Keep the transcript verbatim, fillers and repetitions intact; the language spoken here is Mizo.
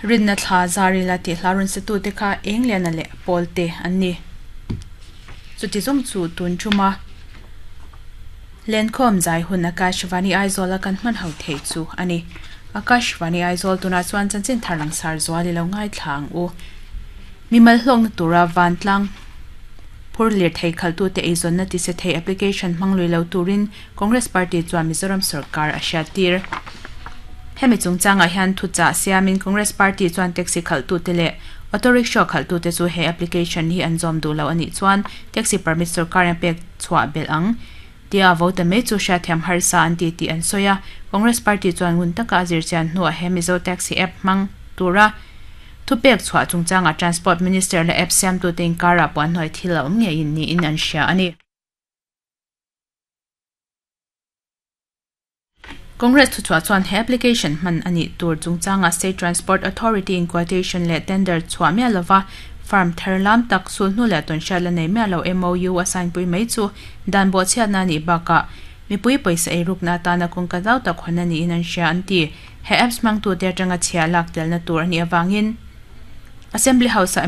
Rinna thla zarila tih hla rawn sa tute kha eng liana leh pawl te an ni. Chuti zawng chu tun thuma Lenkhawm zai hun Akashvani Aizawl a kan hman ho thei chu a ni. Akashvani Aizawl tunah chuan chanchin thar langsar zual i lo ngaithla ang u. Mimal hlawkna tura vantlang phur lir thei khaltute eizawnna ti se thei application hmang lui lo turin Congress Party chuan Mizoram sorkar a hriattir. Hemi chungchangah hian thuchah siamin Congress Party chuan taxi khaltute leh auto rickshaw khaltute chu he application hi an zawm duh lo a nih chuan taxi permit sorkar in pek chhuah belh ang tia vote mai chu hriatthiam harsa an ti tih an sawi a. Congress Party chuan ngun taka a zirchian hnuah he Mizo Taxi app hmang tura thupek chhuah chungchangah Transport Minister leh app siamtute inkarah puan hnuai thil a awm ngeiin niin an hria a ni. Congress thuchhuah chuan he application hman a nih tur chungchangah State Transport Authority in quotation leh tender chhuah miah lova firm thar lam tak sulhnu leh tawnhriat la nei miah lo M O U a sign pui mai chu dan bawhchhiatna a nih bakah mipui pawisa eirukna atana kawngka zau tak hawn a niin an hria an ti. He apps hmangtute atanga chhia lak telna tur a nih avangin Assembly House-ah